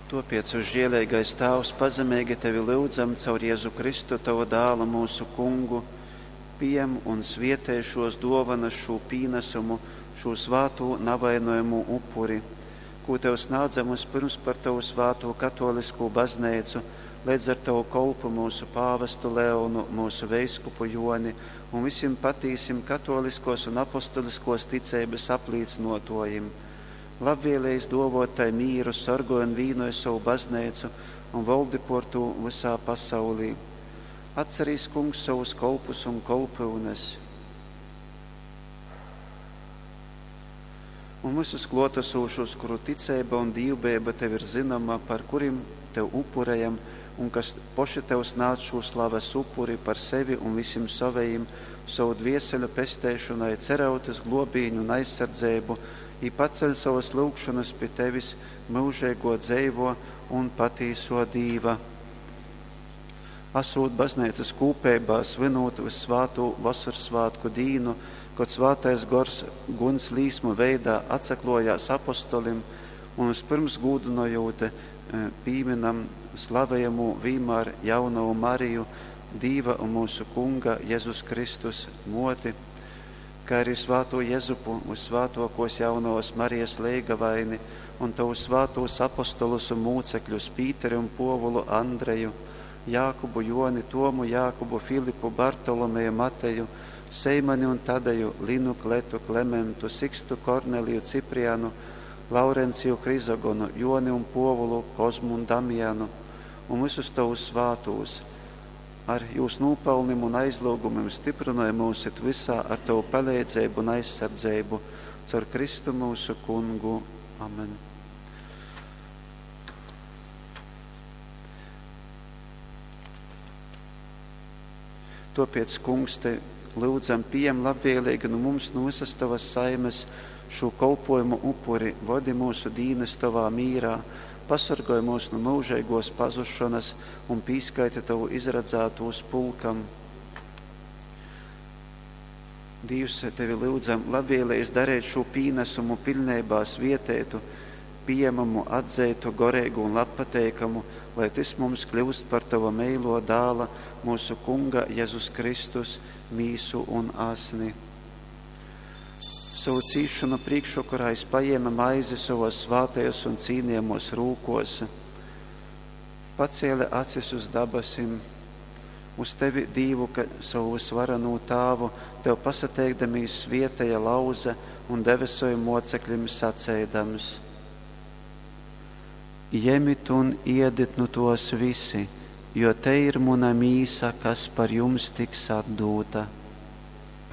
Tuopiec, visžieleigais Tāvs, pazemeigi Tevi lyudzam caur Jezu Kristu, Tavu Dālu, mūsu Kungu, piem un svietej šos duovanas, šū pīnesumu, šū svātū navainojamū upuri, kū Tev snādzam vispirms par Tavu svātū katoliskū bazneicu, leidz ar Tavu kolpu mūsu pāvestu Leonu, mūsu veiskupu Joni un visim patīsim katoliskos un apostoliskos ticeibas aplīcynuotuojim. Labvēlējis dovot tai mīru, sorgoj un vīnoj sovu bazneicu un voldi por tū vysā pasaulī. Atcerīs, Kungs, sovus kolpus un kolpyunes un visus klotasūšos, kuru ticeiba un dīvbeiba Tev ir zynoma, par kurim Tev upurejam un kas poši Tev snādz šū slaves upuri par sevi un visim sovejim, sovu dvieseļu pesteišonai, cerot uz globīņu un aizsardzeibu, i paceļ sovas lyugšonas pi Tevis, myužeigo dzeivo un patīso Dīva. Asūt bazneicas kūpeibā, svinūt vyssvātū Vosorsvātku dīnu, kod Svātais Gors guns līsmu veidā atsaklojās apostolim un vispirms gūdynojūt pīminam slavejamū vīmār jaunovu Mariju, Dīva un mūsu Kunga Jezus Kristus moti, kā arī svāto Jezupu, vissvātokos jaunovas Marijas leigavaini un tavus svātos apostolus un mūcekļus Pīteri un Povulu Andreju, Jākubu, Joni, Tomu, Jākubu, Filipu, Bartolomeju, Mateju, Seimani un Tadeju, Linu, Kletu, Klementu, Sikstu, Korneliju, Ciprianu, Laurenciju, Hrizogonu, Joni un Povulu, Kozmu un Damjanu un visus tavus svātūs. Ar jūs nūpelnim un aizlūgumim stiprināja mūs it visā ar tavu palīdzību un aizsardzību caur Kristu mūsu kungu. Amen. Topiec, Kungs, te lūdzam, pieņem labvēlīgi no mums, no visas tavas saimes, šo kolpojumu upuri, vodi mūsu dīnes tavā mīrā, pasargoj mūs no mūžīgos pazušanas un pīskaiti tavu izradzētūs pulkam. Dievs, tevi lūdzam, labvēlējis darīt šo pīnesumu pilnībā svietētu, pieņemamu, atzeitu, gorīgu un labpateikamu, lai tas mums kļūst par tava meilo dāla, mūsu Kunga Jēzus Kristus, mīsu un asni. Savu cīšanu priekšvakarā es paņēma maizi savos svātajos un cīnījamos rūkos, pacēla acis uz dabasim, uz tevi, Dīvu, ka savu visvarenū tāvu, tev pasateikdamīs svietēja lauza un deve saviem mocekļiem sacēdams. Jemit un iedit nu tos visi, jo te ir muna mīsa, kas par jums tiks atdūta.